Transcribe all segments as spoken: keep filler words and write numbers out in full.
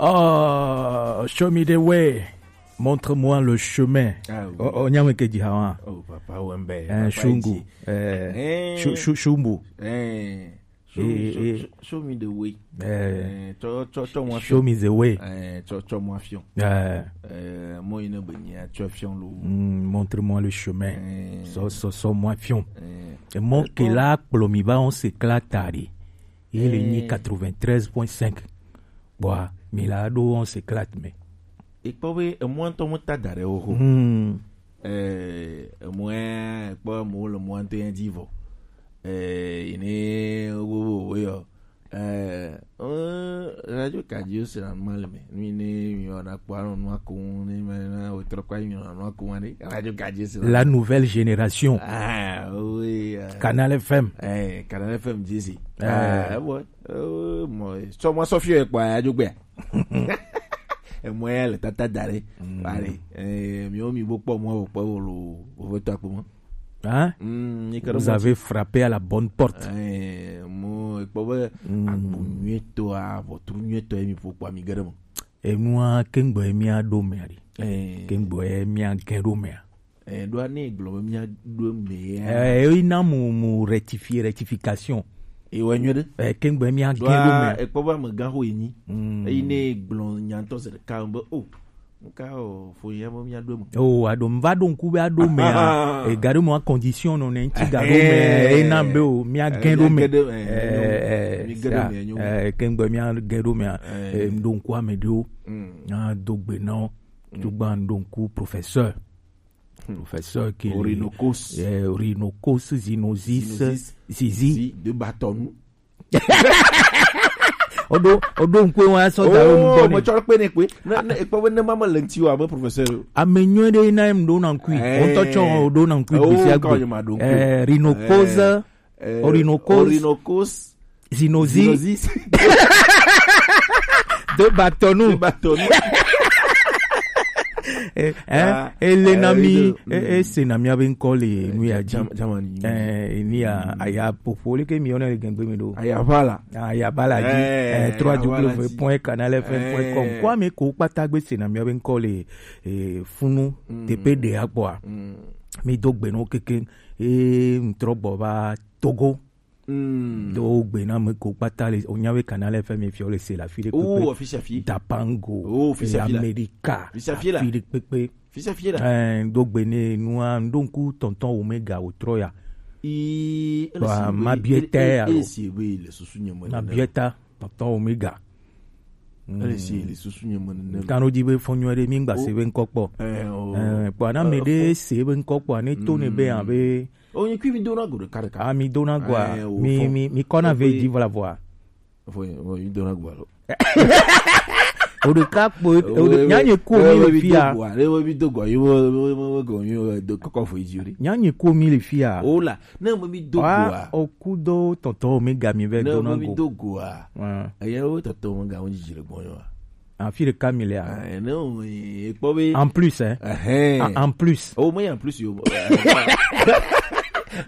Oh, show me the way. Montre-moi le chemin. Ah, oui. Oh, oh, nyame ke dzi hawa. Oh, papa Wembe. Eh, papa Shungu. Iji. Eh, eh. Shu- Shu- Shumbu. Eh. Show, eh, show, eh. Show, show me the way. Eh. Eh, cho, cho, cho, show me the way. Eh, cho, cho, mo afion. Eh. Eh, mo ina benia, cho afion lo. Mm, montre-moi le chemin. Eh. So, so, so, mo afion. Eh. Et mon, eh, ke la, plomi ba, on s'éclate, ari. Il est ni quatre-vingt-treize point cinq. Bwa, mi la ɖo on s'éclate, mais. Ekpɔ be emɔ ŋutɔ mu ta da ɖe wo ho. Hmm. Eh, emɔ ya, ekpɔ emɔ le mɔ ŋutɔ ya dzi vɔ. Eh, ine wo, wo, wo yɔ. Eh, eh, radio kadio se na ma le me. Mi ne mi wa na kpɔ anɔ nua ko, ne ma na wo trɔ kpɔ mi na nua ko wa ne. Radio kadio se na. La nouvelle génération. Ah, oui, euh. Canal F M. Eh, Canal F M dzi si. Eh. Ah, bon. Eh, mo, so mo so fie kpɔ ya jogbe. Emɔ ya le tata da ɖe. Mm. Allez, eh, mi wo mi bo kpɔ mo, bo kpɔ wo lo, bo ve to akpo mo. Hein? Mm, ni kado. Vous mo avez frappé à la bonne porte. Eh, mo, ekpɔ be, mm, agbo nyuitɔ, a, ʋɔtru nyuitɔ ye mi ƒo kpɔ mi ge ɖe me. Enua, kengbe mi a ɖo mea ɖi. Eh. Kengbe mi a ge ɖo mea. Eh, ɖoa ne gblɔ be mía ɖo eme ya. Eh, eyi na mu, mu rectifier, rectification. Ewɔ nyuie ɖe. Eh, kengbe mía gẽ ɖo ɖoa me. Ekpɔ be amegã xo enyi. Mm. Eyi ne gblɔ nya ŋutɔ se ɖeka be, o, nka o, fo ya be mía ɖo eme. O, aɖo, mva ɖo ŋku be aɖo mea, e ga ɖo mo condition nɔ ne ŋuti ga ɖo me, eh, e na be o, mía gẽ ɖo me. Eh, mía gẽ ɖo me, eh, eh, mía gẽ ɖo me, eh, eh, ŋɖo ŋku ame ɖewo. Mm. Na do gbe na wo. Mm. Tugba ŋɖo ŋku professeur. Hmm. Professeur qui Orinokos. Eh, Orinokos, Zinosis, Zinosis, Zizi. Zizi, de Batonu. Oɖo, oɖo ŋkue wa sɔ da wo ŋgɔ ne. Me tsɔ kpe ne kpe. Ne, ne, ekpɔ be ne ma me le ŋti wa, me professeur. Ame nyuie ɖe na em ɖo na ŋkui. Eh. Wo ŋutɔ tsɔ wo ɖo na ŋkui. Oh, gbisia gbe. Eh, Rinokos. Eh, Orinokos. Orinokos. Zinozi. Zinozi. De Batonu. De Batonu. Eh, hein? Ah, ele na eh, mi, eh, eh, se na mi abe ŋkɔ le nu ya dzi. Jam-, Germany. Eh, ni ya, aya popo le ke mi ona le gengbe mi do. Aya bala. Aya bala dzi. Eh, eh, trois W point canal F M point com. Eh. Kwa mi ko kpata gbe se na mi abe ŋkɔ le, eh, funu, mm, tepe de akpɔa. Mm. Mi do gbe no keke, eh, ŋtrɔ gbɔ va Togo. Mm. Do gbe na me ko kpata le, o nya be canal F M fiɔ le se la fi de kpekpe. Oh, officiel fi. Dapango. Oh, officiel fi la. America. Officiel fi la. Fi de kpekpe. Officiel fi la. Eh, do gbe ne nua, ŋɖo ŋku tonton Omega o trɔ ya. I, ele si be, ma bieta ele, ya ele lo. Si be le susu nye me. Ma bieta tonton Omega. Mm. Ele si le susu nye me nene. Kano di be fɔnyɔ de mi ŋgba se be ŋkɔ kpɔ. Eh, o. Eh, kpɔ na me de se be ŋkɔ kpɔ, ne to ne be, mm, abe. O, nyi kui mi do na go ɖeka ɖeka. Ah, mi do na go a. Eh, o, mi, fɔ-, mi, mi kɔ na ve di vola voa. Fɔ, o, mi do na go alo. O ɖeka kpo, o ɖe, nya nye ko mi le fia. Le wo mi do go, yo, wo, wo, wo, wo go, yo, do kɔkɔ fo yi di o ɖe. Nya nye ko mi le fia. O la, ne mo mi do go a. O ku do tɔntɔ mi ga mi ve do na go. Ne mo mi do go a. Ah. Eye wo tɔntɔ mo ga wo didi le gbɔ yo a. Afi ɖeka mi le a. Ah, ne o, e kpɔ be. En plus, hein. Ɛhɛn. Ah, en plus. O, mais en plus yo.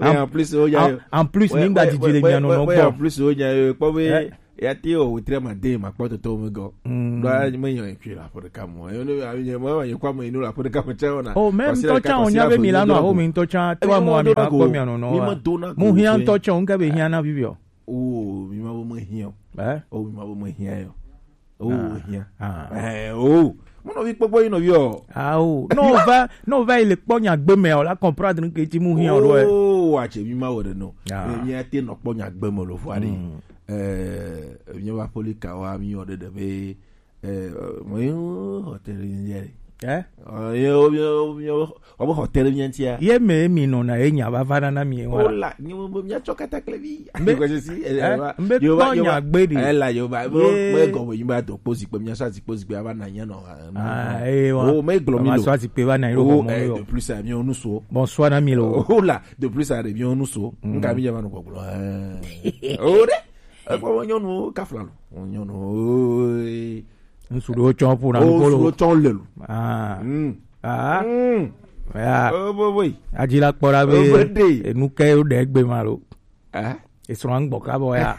Mais en plus, o ya. En, en plus, ouais, ni ŋgba didi le mia nɔnɔ gbɔ. En plus, o ya, e kpɔ be. Eh. Ya te o, tre ma de ma kpɔ tɔntɔ mi go. Mm. Do a me yan ekui la ƒe ɖeka mo. E no a ye mo ye kwa mo inu la ƒe ɖeka mo cha ona. O, même ŋutɔ cha o nya be mi la nɔ aho mi ŋutɔ cha to mo mi ma kpɔ mia nɔnɔ. Mi ma do na go. Mo hia ŋutɔ cha o ŋke be hia na bibi o. O, mi ma bo me hia o. Eh? O, mi ma bo me hia yo. O, ah, hia. Ah. Eh, o. Mo nɔvi kpɔkpɔ yi nɔvi o. Ah, o. No va, no va il kpɔ nya gbe me o la comprendre que ti mu hia o do. O, wa che mi ma wo de no. Ah. Mi a te no kpɔ nya gbe me lo fo ari. Mm. Eh, mi va polika wa mi o de de be, eh, mo yo hotel ni je. Eh? Eh, yo, yo, yo, Wa be hotel mía ŋutia. Ye me mi nɔna ye nya va va nana mi wa. O la, nye mo be mía tsɔ kataklevi. Mbe, eh, mbe kpɔ nya gbe ɖi. Eh, la yo ba, mo, mo gɔme yi ba do kpo zikpe, mía sɔ zikpe, zikpe ava na nya nɔ. Ah, eh, wa. O, me gblɔ mi lo. Ma sɔ zikpe va na yi lo. O, eh, de plus a mi o nu so. Bonsoir na mi lo. O la, de plus a de mi o nu so. Mm. Nka mi nya ma nu gbɔgblɔ. Eh. O de. Ekpɔ nyɔnu kafla lo. Nyɔnu. Ŋsu ɖewo tsɔ ƒo na nuƒo lo. Ŋsu ɖewo tsɔ le lo. Ah. Mm. Ah. Mm. Ya. Oh, boy, boy. Adzi la kpɔ ɖa be, oh, boy, day, enu ke wo ɖe egbe ma lo. Ah. Esrɔ̃ ŋgbɔ ka bɔ ya.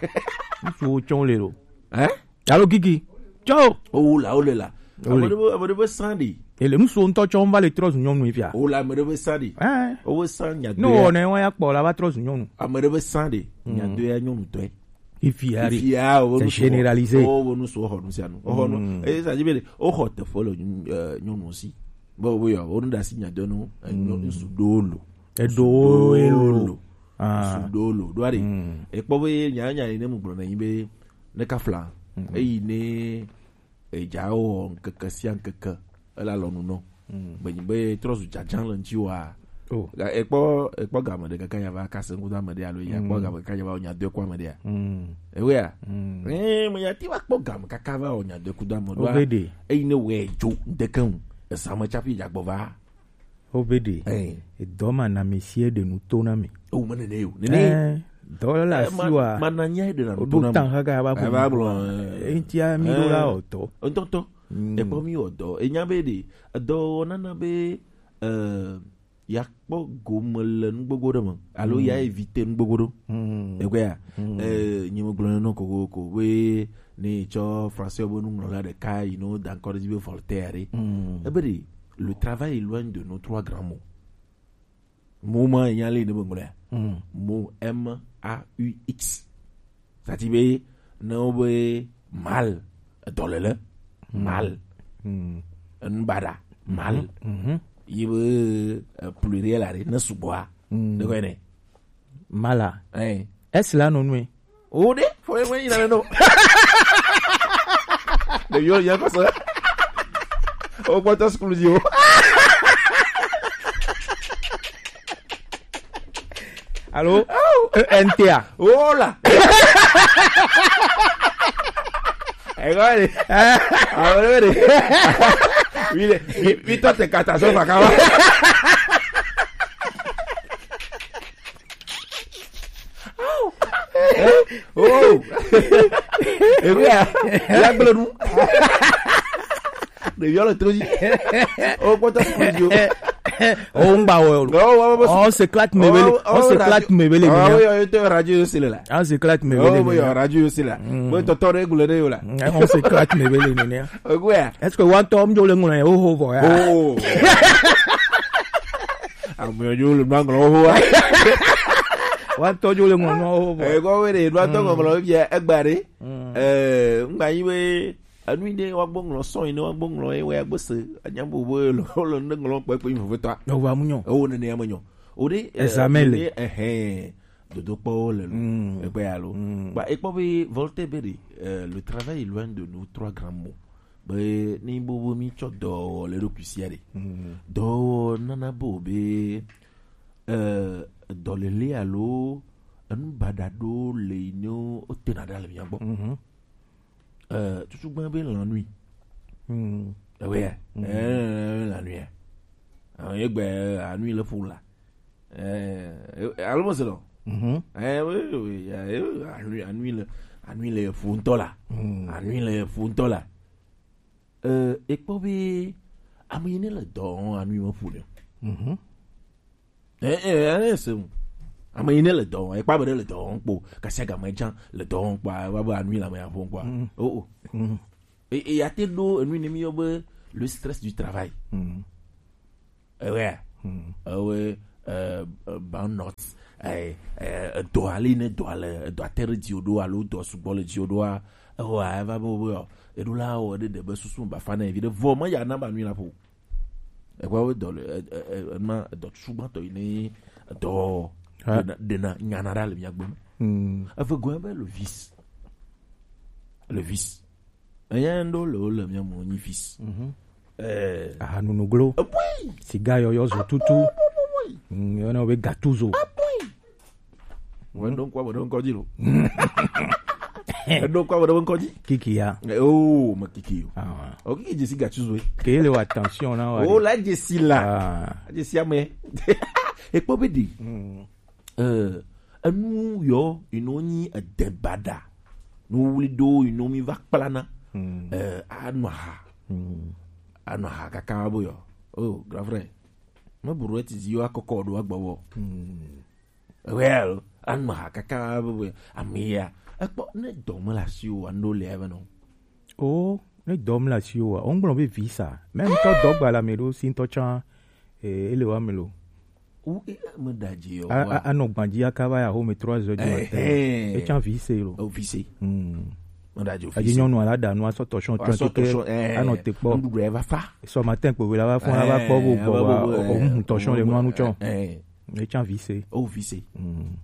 Ŋsuwo tsɔ le lo. Eh? Alo Kiki. Tsɔ. Owu la, wole la. Wole. Ame ɖe be, ame ɖe be san ɖe. Ele ŋutsuwo ŋutɔ tsɔ va le trɔ zu nyɔnu fia. Wole ame ɖe be san ɖe. Ɛɛ. Wobe san nya Ne doya. Wɔ ne wa ya kpɔ la va trɔ zu nyɔnu. Ame ɖe be san ɖe. Nya doya nyɔnu tɔe. Ifi ari. Ifi ya, wo C'est nu sugbɔ. Généralisé. Wo, wo nu sugbɔ xɔ nu sia nu. Wo xɔ nu. Mm. Eye sa dzi be ɖe, wo xɔ teƒe le nyɔnu, eh, nyɔnu si. Be, wo yɔ, wo nu ɖe asi nya doya nu, eh, nyɔ-, ŋutsu ɖewo lo. Eɖewo lo. Ah. Ŋutsu ɖewo lo. Ɖo ari. Mm. Ekpɔ be nya, nya yi ne mu gblɔ na yi be, ne ka fla. Mm. Eyi ne edza wɔ ŋkeke sia ŋkeke, ele alɔnu nɔ. Mm. Be nyi be trɔ zu dzadzã le ŋuti wa. Oh. Ga-, ekpɔ, ekpɔ game ɖe kaka ya va kase ŋkuta ame ɖe alo ya kpɔ Mm. game kaka ya va wɔ nya doe ku ame ɖea. Mm. Ewea? Mm. Eh, me ya ti va kpɔ game kaka va wɔ nya doe ku do ame ɖoa. Obe ɖe. Eyi ne wɛ dzo ŋdeke ŋu. Esa me tsaƒi dzagbɔ va. Obe ɖe. Eh. Edɔ ma na mi sie ɖe nu to na mi. O me nene yo. Nene. Eh, dɔ le Eh, asi ma, wa. Ma na nya ɖe na nu to na mi. Ɖo tan haga va Ava bu. Gblɔ, eh. Eŋtia mi ɖo la Eh. Ɔtɔ. Ŋutɔŋutɔ. Mm. Ekpɔ mi wɔ dɔ. Enya be ɖe, edɔ wɔna na be, eh, ya kpɔ gome le nugbogbo ɖe me. Alo Mm. ya éviter nugbogbo ɖo. Mm. Egbea, Mm. eh, nyi me gblɔ nɔ kokoko be ne tsɔ français be nuŋlɔla ɖeka yi no da ŋkɔ ɖe dzi be Voltaire ɖe. Mm. Ebe ɖe, le travail éloigne de nos trois grands mots. Mo ma nya le ne be ŋlɔa. Mm. Mo M A U X. Sati be ne wo be mal, dɔlele, Mm. Mal. Mm. Enu baɖa, mal. Mhm. Yi be, eh, pluriel aɖe, ne sugbɔa. Mm. Ne kɔe ne. Mala. Eh. Est-ce là non, oui? O ɖe, fo ye ŋue yi na ne no. Ɖeviwo ya kɔsɔ. O kpɔtɔ sukulu dzi o. Alo? E N T A. Wola. Ego ni. Awore ni. Wile, mi to te kata so fakawa. Oh. Ewia. Ya gblenu. Ɖeviwo le to dzi. O kpɔtɔ sukulu dzi o. O ŋgba wɔ. Non, on va pas. On s'éclate, mais belle. On s'éclate, mais belle. Ah oui, on était radio aussi là. On s'éclate, mais belle. Oh oui, radio aussi là. Mm. Bon, tonton régulé là. Mm, on s'éclate, mais belle. Ouais. Est-ce que one tom jo le ngona o ho vo ya? Oh. Ame yo le ngona o ho. One tom jo le ngona o ho vo. Eh, ko we de, one tom ngona o bia egbare. Mm. Eh, ngba yi we Enu yi ɖe woagbo ŋlɔ sɔn yi ne woagbo ŋlɔ ye woagbo se. Anya bo bo lo lo ne ŋlɔ kpekpe yi vovotɔa. Ewa mu nyɔ. Ewo nene ya me nyɔ. O ɖe, eh, Examen le. Ne, eh, eh, dodo kpɔ le lo. Mm. Ekpe ya lo. Mm. Ba ekpɔ be Voltaire be ɖe, eh, le travail éloigne de nos trois grands mots. Be ni bo bo mi tsɔ dɔ le ɖo kusia ɖe. Mm. Dɔ nana bo be, eh, dɔlele alo enu baɖa ɖo le yi ne wo tena ɖa le mia gbɔ. Mhm. Euh, tutu gbã be la nuit. Hmm. Eh oui, hein. Hmm. Eh, la nuit, hein. Ah, ye gbe, eh, la nuit le fou là. Eh, eh, allô, c'est non. Mhm. Eh, oui, oui, eh, eh, la nuit, la nuit le, la nuit le fou to là. Hmm. La nuit le fou to là. Euh, et puis, ame yi ne le dɔ, la nuit me fou le. Mhm. Eh, eh, eh, eh, se mu. Ame yi ne le dɔ wɔm, ekpɔ be ɖe le dɔ wɔm kpo, kasia game dzã le dɔ wɔm kpoa, eva be enu yi le ame ya ƒom kpoa. Mm. Oh, oh. Mm. E, e, ya te ɖo enu yi ne mi yɔ be le stress du travail. Mm. Ewe, mm. Ewe, eh, eh, burnout, eh, eh, edɔ ale yi ne dɔ le, edɔ ate ɖe dzi o ɖo alo dɔ sugbɔ le dzi o ɖoa, ewa, eva be wo be, ɔ, eɖo la wɔ ɖe ɖe be susu me bafa na evi ɖe, vɔ me ya na ba nu yi la ƒo. Ekpɔ be dɔ le, e, e, e, ema edɔ tutu gbãtɔ yi ne edɔ ɖena, ɖena nyana ɖa le mia gbe me. Mm. Eve gɔ̃ be le vice. Le vice. Eya ŋɖo le wo le mia mo nyi vice. Mhm. Eh. Ahanunuglo. Ebui. Siga yɔyɔ zo tutu. Ebui, ebui, ebui. Mm, yɔna wo be gatuzo. Ebui. Wọ́n ɖo ŋkɔ, wọ́n ɖo ŋkɔ dzi lo. Eɖo ŋkɔ, wọ́n ɖo ŋkɔ dzi. Kiki ya. Eh, oh, me kiki yo. Ah. O kiki dzesi gatsu zoe. Ke le wa attention na wa. Oh, la dzesi la. Ah. Dzesi ame. Ekpɔ be ɖi. Mm. Eh, enu yɔ, inu nyi ede baɖa. Nu wuli ɖo, inu mi va kplana. Mm. Eh, anɔ ha. Mm. Anɔ ha kaka bo yɔ. Oh, grand frère. Me buru eti zi yo akɔkɔ ɖo agbɔ wɔ. Mm. Well, anma kaka be, be, amia. Ekpɔ ne dɔ me le asi o, ando le ebe no. O, Ne dɔm le asiwò a, wogblɔ be visa. Mɛ ŋutɔ dɔgba le ame ɖewo si ŋutɔ tsã, eh, ele wa me lo. Wu, eh, me da dzi o, a, wa. A, anɔ gbadzi aka va ya home trois heures du matin. Eh, eh. Etsã vise lo. O vise. Hmm. Me da dzi o vise. Adzi nyɔnu ala da nu asɔ tɔsɔn tɔsɔn tɔsɔn, eh, anɔ te kpɔ. Nuɖuɖu ya va fa. Sɔ matin kpo wela va fɔ, eh, va kpɔ bo bɔ, ava bo, o, eh, o, tɔsɔn le nua nu tsɔ. Eh, eh. Etsã vise. O vise. Hmm.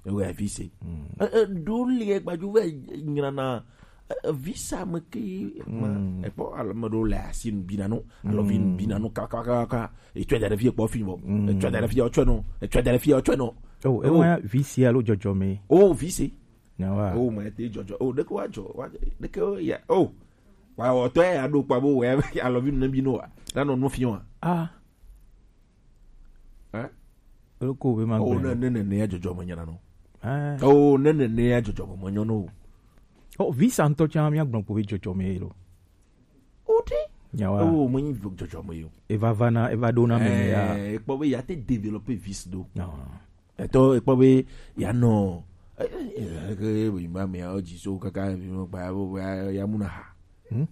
Ewe vise. Hmm. Eh, eh, ɖo le gbadzu ve nyrana. Eh, visa me ke ma, mm, ekpɔ alo me ɖo le asi nu bina no, alo vi nu bina no ka, ka, ka, ka. Etsɔe da ɖe fi ekpɔ fi bɔ. Mm. Etsɔe da ɖe fi etsɔe no. Etsɔe da ɖe fi etsɔe no. Oh, ewa visa alo dzɔdzɔme. Oh, visa. Nyawa. Oh, ma te dzɔdzɔ. Oh, ɖeke wa dzɔ, wa, ɖeke o ya. Oh. Wa wɔ tɔ ya ɖo kpa bo wɛ alo vi nu ne bi no wa. Na nɔ nu fi wa. Ah. Hein? Elo ko be ma. Oh, gbe ne, ne, ne, ne ya dzɔdzɔme nyana no. Ah. Oh, ne, ne, ne ya dzɔdzɔme me nyɔ no. Oh, visa ŋutɔ tsã míagblɔ kpo be dzɔdzɔme ye lo. O ɖe? Nyawa. Oh, me nyi dzɔdzɔme yo. Eva va na, eva ɖo na me ya. Eh, ekpɔ be ya te développer vis do. Ah. Etɔ ekpɔ be ya nɔ. Eh, eh, eh, ke be ma me ya dzi so kaka mi mo gba ya, ya mu na ha. Hmm?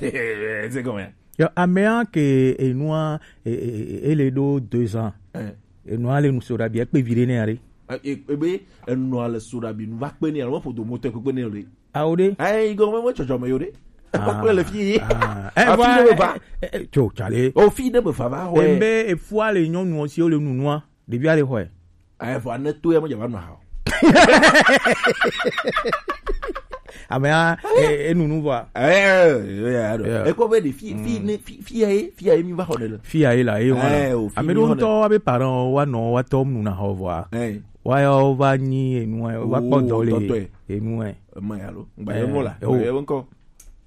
C'est comment? Yo, amea ke enua, e, e, e, ele ɖo deux ans. Eh. Enua le nu so ɖabi ekpe vi ɖe ne ya ɖe. Eh, e, ebe enua le so ɖabi nu va kpe ne ya, alo ƒodo moto kpe ne ya ɖe. Awo ɖe? Eh, igo me, me tsɔtsɔ me yo ɖe. Ah, kpe le fi. Ah. Eh, afi va, ɖe me va. Eh, eh, tso, tsale. O fi ɖe me va va, ouais. Embe efua le nyɔnu si wo le nunua. Ɖevia le xɔe. Ayi vɔ ne to ya me dzava nɔ ha o. Amea, e, enunu vɔa. Eh, eh, eh, eh. Ekpɔ be ɖe fi, fi ne, fi, fi ya ye, fi ya ye mi va xɔ ne le. Fi ya ye la, ye wa. Eh, o, fi ame mi ɖewo xɔ ne. Ŋutɔ wa be parent wa nɔ wa tɔ nu na xɔ vɔa. Eh. Wa ya wo va nyi enu, wa kpɔ dɔ le enu, eh. Ema ya lo. Ngba ye mo la. Eh, o. Ngba ye ŋkɔ.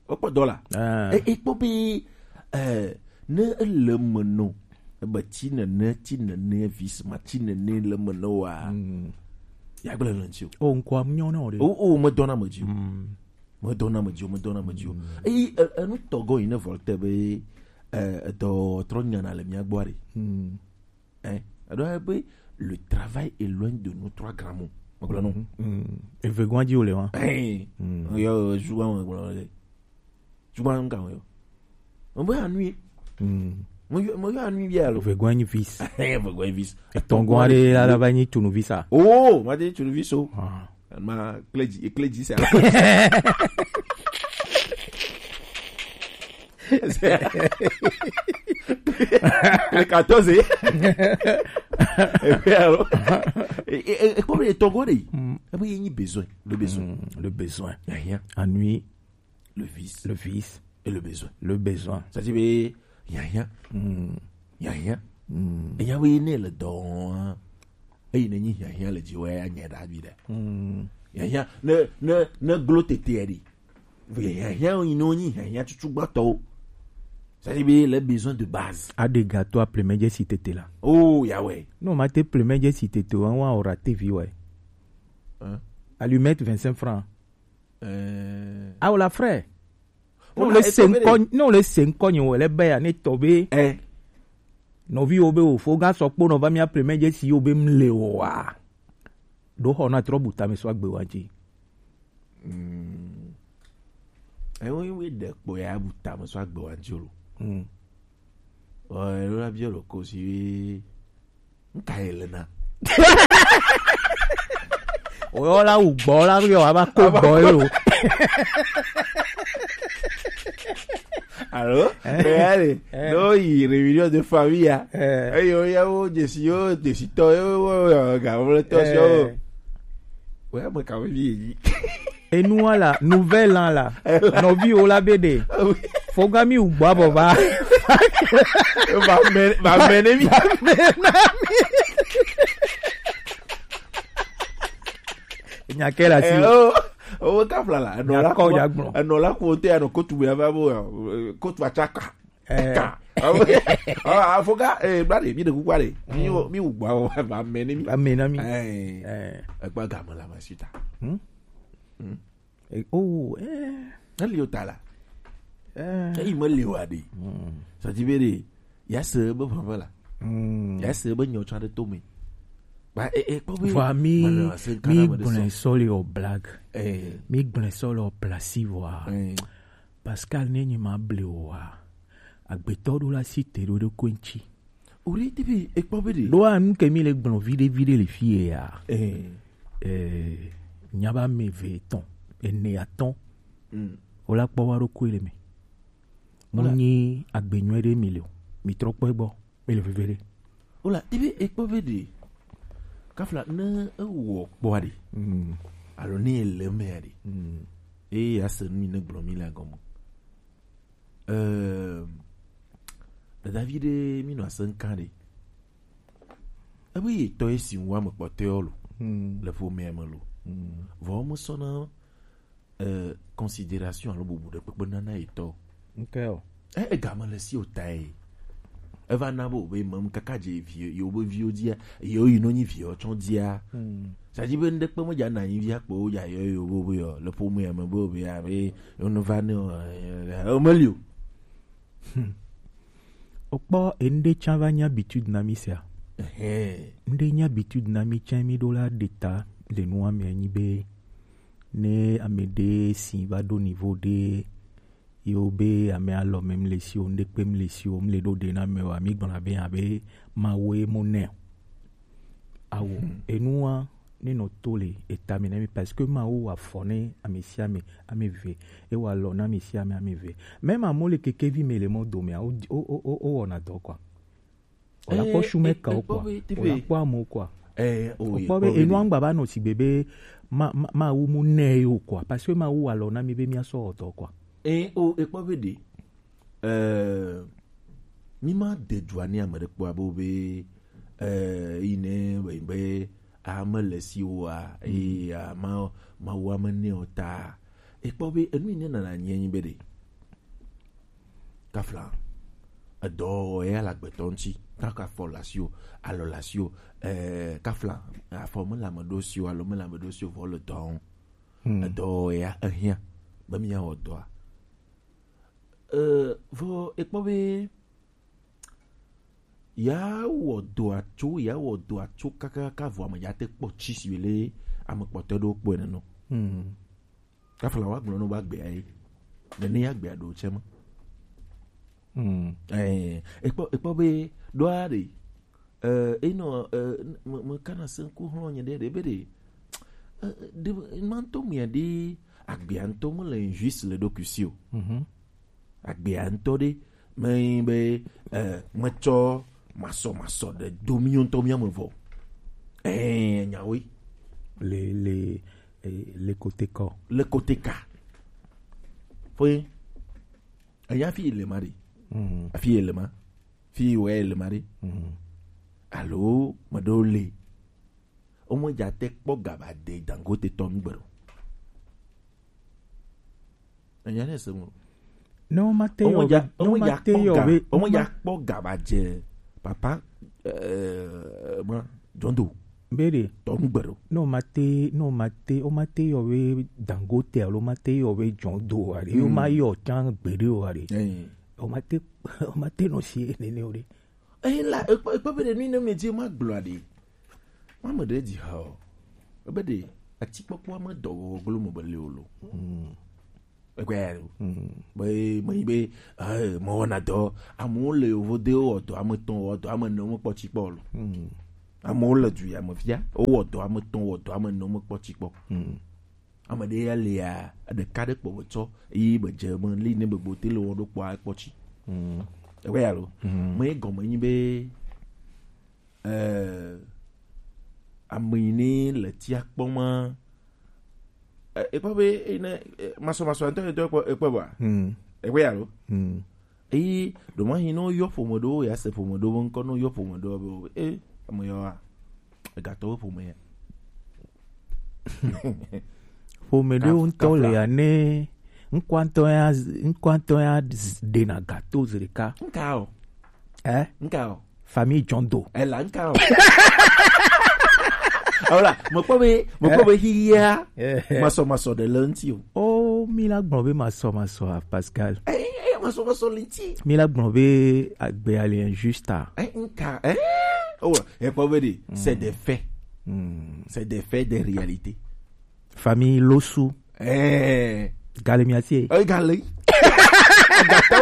Wokpɔ dɔ la. Ah. E, ekpɔ be, eh, ne ele me no, ebe tsi nene, tsi nene, visma tsi nene le me no wa. Mm. Ya gblẽ le ŋtsi o. O, ŋkɔa mu nyɔ na o ɖe. O, o, medɔna me dzi o. Mm. Medɔna me dzi o, medɔna me dzi o. Mm. Eyi, e, enu tɔgɔ yi ne Voltaire be, eh, edɔ trɔ nyana le mía gbɔ ɖe. Mm. Hein? Alors, eh, ben, le travail éloigne de nous trois grands mots. Vous comprenez? Mm. Evegwan dzi wole wa. Hein? Mm. Yo, souvent, on va. Souvent, on va. On va ennuyer. Mm. Mo yo, mo yo ennuyer alors. Evegwan nyi vis. Hein, evegwan vis. Etɔngwan ɖe la, la va nyi tunu visa. Oh, ma de tunu viso. Ah. Ma kledzi, kledzi sa. Le quatorze. Et puis alors, et, et, et comme les Togolais, mm, et puis il y a besoin, le besoin. Mm, le besoin. Rien. Ennui. Le vice. Le vice. Et le besoin. Le besoin. Ça dit, mais il y a rien. Mm. Il y a rien. Mm. Et il y a rien, le don. Eyi ne nyi hiahiã le dziwɔ ya nye ɖa vi ɖe. Mm. Hiahiã, ne, ne, ne glo tete ɖi. Vɔ hiahiã yi ne wonyi hiahiã tutu gbãtɔwo. C'est-à-dire be les besoins de base. Aɖe gato a plemedze si tete la. Oh, ya ouais. Non, ma te plemedze si tete wa, wa ora T V ouais. Hein? Allumette vingt-cinq francs. Euh. Ah, la frère. Ne wole se ŋkɔ, ne wole se ŋkɔ nye wole be ya ne tɔ be. Eh. Nɔvi wo be wo fo ga sɔ kpo nɔ va mía plemedze si wo be mle o wa. Ɖo xɔ na trɔ bu tame sɔ agbe wa dzi. Mm. Ewo yi we ɖe kpo ya bu tame sɔ agbe wa dzi lo. Mm. Ɔ, elo la biɔ lo ko si we. Nka ye le na. Oyɔ la wu gbɔ la yɔ ava ko gbɔ ye lo. Alo? Eh. Eya le. Eh. No yi réunion de famille ya. Eh. Eyo ya wo jesi yo jesi tɔ yo wo yo ga wo le tɔ si yo. Eh. Oya me ka wo vi yi. Enua la, nouvelle an la, nɔviwo la be ɖe. Foga mi wu gbɔ abɔ va. Va mɛ, va mɛ ne mi. Nya ke la si. Eh, oh, oh, ka fla la. Enɔ la ko ya gblɔ. Enɔ la ko te anɔ kotu ya va bo, eh, kotu atsaka. Eh. Ka. Ah, ah, foga, eh, bla de, mi de kukua de. Mi wo, mi wu gbɔ abɔ va mɛ ne mi. Va mɛ na mi. Eh. Eh. Egba game la ma suta. Hmm? Hmm. Eh, oh, eh. Eli o ta la. Eh. Eyi me le wa de. Hmm. Ça dit be de, ya se be vava la. Hmm. Ya se be nyo cha de to me. Ba, eh, eh, kpɔ be. Vɔa mi, mi gblẽ sɔ le o blague. Eh. Mi gblẽ sɔ le o place vɔa. Eh. Pascal, ne nyi ma ble o wa. Agbetɔ ɖo la si te ɖo ɖo ko ŋtsi. O ɖe te be ekpɔ be ɖe. Ɖo a nu ke mi le gblɔ viɖe viɖe le fi ye ya. Eh. Eh, nya ba me ve etɔn, ene atɔn. Mm. O la kpɔ wa ɖo ko le me. Mo nyi agbenyɔ ɖe mi le o. Mi trɔ kpɔ gbɔ. Mi le veve ɖe. Wala, ebe ekpɔ be ɖe. Kafla ne ewɔ kpɔa ɖe. Mm. Alo ne ele mea ɖe. Mm. Eye ase nu yi ne gblɔ mi le agɔme. Ehm, dadavi ɖe mi nɔ ase ŋkan ɖe. Ebe ye tɔ esi ŋu ame kpɔtɔewo lo. Mm. Le ƒomea me lo. Mm. Vɔ mesɔna eh, considération alo bubu ɖe kpekpe nana etɔ. Nke o. E, egame le si o ta ye. Eva na bo be mem kaka dze vi yo be viwo dzia, yo yi no nyi vi yo tsɔ dzia. Hmm. Sa dzi be ŋɖe kpe me dza na nyi via kpo wo dza yo yo bo be yo le ƒome ya me bo be ya be yo no va ne o, eh, o meli o. Hmm. Okpɔ, enuɖe tsã va nye habitude na mí sia. Ehe. Nuɖe nye habitude na mí tsã, mí ɖo la ɖe ta le nua me anyi be ne ame ɖe si va ɖo niveau ɖe yewo be ame alɔ me mle si o, nuɖe kpe mle si o, mle ɖo ɖe na ame o, mi gblɔna be abe Mawu ye mo nɛ o. Awo, hmm, enua ne nɔ to le eta me na mi, parce que Mawu wa afɔ ne ame sia ame, ame ve, e wa alɔ na ame sia ame, ame ve. Même amewo le kekevi me le mɔ dome, o, o, o, o, o wɔna dɔ quoi. O la kpɔ shume ka o quoi. O la kpɔ amewo quoi. Eh, o kpɔ be enua ŋgba va nɔ si be be ma, ma, Mawu mu nɛ o quoi. Parce que Mawu wa alɔ na mi be mi asɔ wɔ dɔ quoi. Eh, o, e kpɔ be ɖe. Eh, mi ma de dua ni ame ɖe kpɔ abo be, eh, yi ne be, be ame le si wa, mm, eh, ma, ma wa me ne o ta. E kpɔ be enu yi ne nana nye nyi be ɖe. Kafla. Edɔ ya le agbetɔ ŋuti. Kaka fɔ le asi o, alɔ le asi o, eh, kafla. Afɔ me le ame ɖo si o, alo me le ame ɖo si o, vɔ le dɔ ŋu. Hmm. Edɔ ya ehiã be mi ya wɔ dɔa. Eh, vɔ ekpɔ be ya wɔ dɔa tso, ya wɔ dɔa tso kakaka vɔ ame ya te kpɔ tsi si le ame kpɔtɔ ɖewo kpɔe nenɔ. Hmm. Kafla wa gblɔ no ba gbea ye. Nene ya gbea ɖo tsɛ ma. Hmm. Eh, ekpɔ, ekpɔ be ɖoa ɖe. Eh, enɔ, eh, me, me kana se ŋku hlɔ nye ɖe, ɖe be ɖe. Eh, ɖe, ma ŋutɔ mia ɖe, agbea ŋutɔ me le injuste le ɖokui si o. Mhm. Agbea ŋutɔ ɖe, me be, eh, metsɔ masɔ, masɔ ɖe do mi ŋutɔ mia me vɔ. Eh, nyawoe. Le, le, eh, le kote kɔ. Le kote ka. Foye. Enya fi le ma ɖe. Mm. Afi le ma. Fi wɛ le ma ɖe. Mm. Alo, me ɖo le. O me dza te kpɔ gaba de Dangote tɔ nu gbe ɖo. Enya ne se mo. Ne womate yɔ be, ne womate yɔ be, womedza kpɔ ga ba dze papa, eh, ma, John Doe. Be ɖe. Tɔ nu gbe ɖo. Ne womate, ne womate, womate yɔ be Dangote alo womate yɔ be John Doe o aɖe. Hmm. Woma yɔ tsã gbeɖe o aɖe. Eh. Womate, womate nɔ si nene o ɖe. Eyi la, ekpɔ, ekpɔ be ɖe nu yi ne medzi magblɔ aɖe. Mame ɖe dzi ha o. Ebe ɖe, atikpɔkpɔ ame dɔ wɔwɔ glo me be le o lo. Mm. Ekpɔ ya lo. Mm. Be, me yi be, eh, me wɔna dɔ. Amewo le yovo de wɔ dɔ ame tɔn, wɔ dɔ ame ne mekpɔ tsi kpɔ lo. Mm. Amewo le du ya me fia, wowɔ dɔ ame tɔn, wɔ dɔ ame ne mekpɔ tsi kpɔ. Mm. Ame ɖe ya lia, ɖeka ɖe kpɔ metsɔ, eye medze me li ne gbegbe te le wɔ ɖo kpɔa ekpɔ tsi. Mm. Ekpɔ ya lo. Mm. Me gɔme nyi be, eh, ame yi ne le tia kpɔ ma, eh, ekpɔ be, eh, ne, eh, masɔmasɔ ŋutɔ ŋutɔ ekpɔ, ekpɔ ba? Mm. Ekpɔ ya lo. Mm. Eye ɖomahi ne woyɔ ƒome ɖewo, ya se ƒome ɖewo be ŋkɔ, ne woyɔ ƒome ɖewo be, eh, ame yawoa, egatɔwo ƒome ya. Ƒome ɖewo ŋutɔ le ya ne ŋkɔa ŋutɔ ya, ŋkɔa ŋutɔ ya ɖena gato zi ɖeka. Nka o. Eh? Nka o. Famille John Doe. Ela nka o. Voilà, mekpɔ be, mekpɔ be xixia, eh, masɔmasɔ ɖe le ŋuti o. Oh, mi la gblɔ be masɔmasɔ a, Pascal. Eh, eh, masɔmasɔ le ŋuti. Mi la gblɔ be agbe ali injuste a. Eh, nka, eh? Oh, ekpɔ be ɖe, c'est des faits. Hmm. C'est des faits, des réalités. Famille Losu. Eh. Gale miatie. Eh, gale.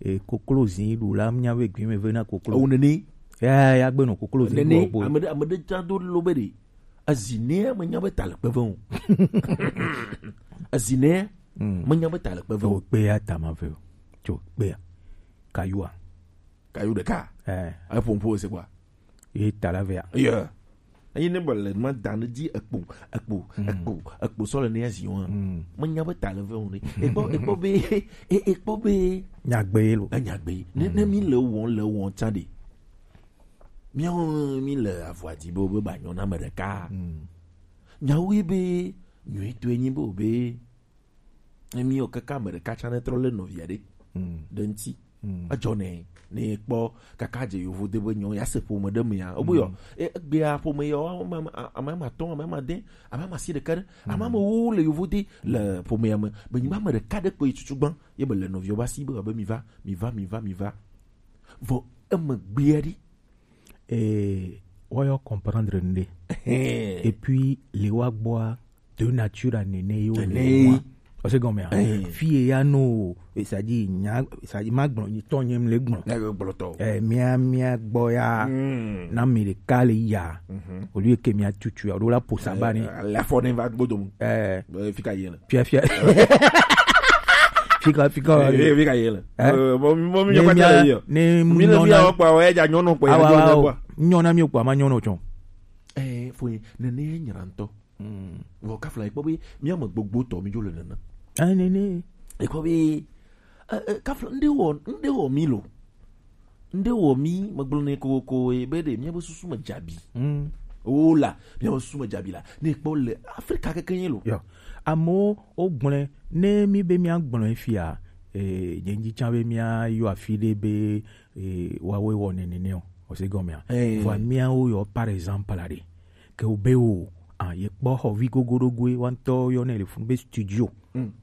e, koklo zi ɖu la, mía be gbi me ve na koklo. Ewu nene. Ya, ya gbe nɔ koklo zi ɖu ɔgbo. Ame ɖe, ame ɖe tsã do lo be ɖe. Ezi nɛ menya be ta le kpe ve o. Ezi nɛ menya be ta le kpe ve o. Tso kpe ya ta ma ve o. Tso kpe ya. Kayua. Kayu ɖeka. Eh. Eƒo ŋƒo se kpɔa. Ye ta la vea. Yeah. Eyi ne bɔ le ma da ne dzi ekpo, ekpo, ekpo, ekpo sɔ le ne ya zi wa. Menya be ta le ve o ne. Ekpɔ, ekpɔ be, e-, ekpɔ be. Nyagbe ye lo. Enyagbe. Ne, ne mi le wɔm, le wɔm tsã ɖe. Míawo mi le avɔa dzi be, be ba nyɔ na ame ɖeka. Nyawo ye be, nyuitɔe nyi be, be, ne mi wɔ kaka ame ɖeka tsã ne trɔ le nɔvia ɖe. Ɖe ŋuti. Edzɔ ne, ne kpɔ kaka dze yovo de be nyɔ, ya se ƒome ɖe mea. Obo yɔ, e-, egbea ƒome yɔ, ame, ame, ame, ame atɔ̃, ame, ame ade, ame, ame asi ɖeka ɖe, ame, ame wo le yovo de le ƒomea me. Be nyigba ame ɖeka ɖe kpe yi tutu gbã, ye be le nɔviawo ba si be, be mi va, mi va, mi va, mi va. Vɔ eme gbea ɖi. Eh, woyɔ comprendre nde. Et puis, le wa gbɔa, de nature à nene yo. Nene. Parce que, mais, fille ya no, c'est-à-dire, nya, c'est-à-dire, ma gbɔn, ni tɔ nyem le gbɔn. Ne gbɔn tɔ. Eh, mia, mia gbɔ ya, na mi ɖeka le ya. Au lieu que mia tutu ya, o la posa ba ni. La fɔ ne va gbɔdom. Eh. Fika yele. Fia, fia. Fika, fika. Eh, fika yele. Eh? Eh, mo, mo, mi ne nyɔ kpata mia, le yɔ. Ne mi nyɔ na wa kpa, wa ya nyɔ nɔ kpa, awa, ya nyɔ na wa kpa. Nyɔ na mi kpa, ma nyɔ nɔ tsɔ. Eh, fo ye, ne, ne nyra ŋutɔ. Vɔ kafla ekpɔ be mía me gbogbo tɔ mi dzo le nene. Eh, nene. Ekpɔ be, eh, eh, kafla, ŋɖe wɔ, ŋɖe wɔ mi lo. Ŋɖe wɔ mi, megblɔ nɛ kokoko ye be ɖe míabe susu me dzabi. O la, míabe susu me dzabi la. Ne kpɔ le Afrika keke nye lo. Yo. Amewo wogblɔe, ne mi be míagblɔe fia, eh, nye ŋdi tsã be míayɔ afi ɖe be, eh, woawoe wɔ nene o. Ose gɔmea. Eh. Vɔa míawo yɔ, par exemple, la ɖe. Ke wo be o, ah, ye kpɔ xɔ vi gogoɖogoe, wa ŋutɔ yɔ ne le funu be studio.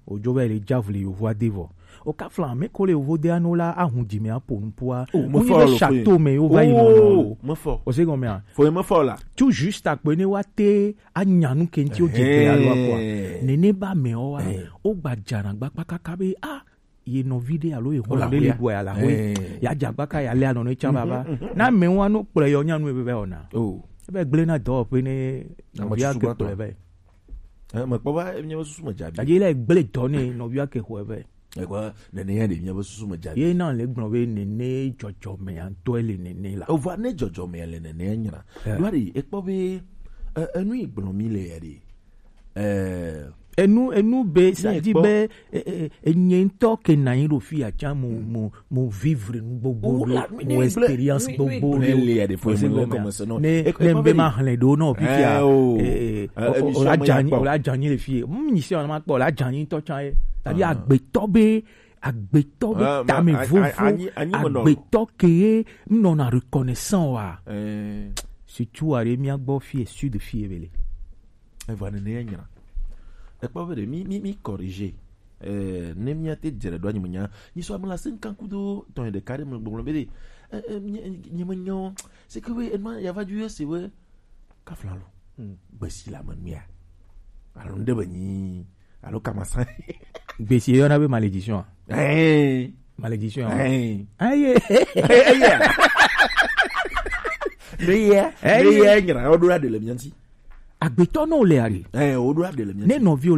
Ojo va yi le dza vli yovo ade vɔ. O ka flan, me ko le yovo de ano la, ahun dzi me apo nupua. Oh, me fɔ be lo château me yo va yi nɔ. Me fɔ. O se gɔmea. Fo me fɔ la. Tout juste akpe ne wa te anya nu ke ŋuti o dze gbe alo akɔa. Nene ba me o wa. O gba dzana gba kpakaka be, ah, ye nɔvi ɖe alo ye xɔlɔ ɖe le ɖua ya la hoe. Ya dza gba ka ya le anɔ ne tsa baba. Na me wa no kplɔ yɔ nyanu ebe va ona. Oh. Ebe gble na dɔwɔƒe ne nɔvia ke kplɔ vɛ. Eh, mekpɔ va, míabe susu me dza vi. Gake le gblẽ dɔ nɛ nɔvia ke xɔe vɛ. Ekpɔ, nene ya ɖe míabe susu me dza vi. Ye na le gblɔ be nene dzɔdzɔme ya ŋutɔe le nene la. Ova ne dzɔdzɔme ya le nene ya nyra. Eh. Ɖoa ɖe, ekpɔ be, eh, enu yi gblɔ mi le ya ɖe. Eh, enu, enu be, ne sa di ekpɔ be, eh, eh, enye ŋutɔ ke na yi ɖo fi ya tsã mo, mo, mo vivre nu gbogbo ɖo, mo expérience gbogbo ɖo. Ne, ne be ma hlẽ ɖo nɔ fifia, eh, o la dzanyi, o la dzanyi le fie. Mm, nyi si ma kpɔ, o la dzanyi ŋutɔ tsã ye. C'est-à-dire, agbetɔ be, agbetɔ be tame vovo, agbetɔ ke ye nɔna reconnaissant wa. Surtout, are mía gbɔ fie, sud fie be le. Eva nene ya nyra. Ekpɔ be ɖe mi, mi, mi corriger. Eh, ne mía te dze ɖe ɖo anyi me nya. Nyi sɔ ame la se ŋkan kudo tɔn ɖeka ɖe me gbɔgblɔ be ɖe. Eh, eh, nye, nye me nyɔ. C'est que we, enma ya va dju yɔ se we. Kafla lo. Gbesi la me nua. Alo nde be nyi. Alo kama sa. Gbesi yɔ na be malédiction. Eh. Malédiction. Eh. Aye. Eh, eh, yeah. Ne ye, ne ye nyra, o ɖo la ɖe le mía ŋuti. Agbetɔ nɔ le ari. Eh, o ɖo la ɖe le mía ŋuti. Ne nɔvi o le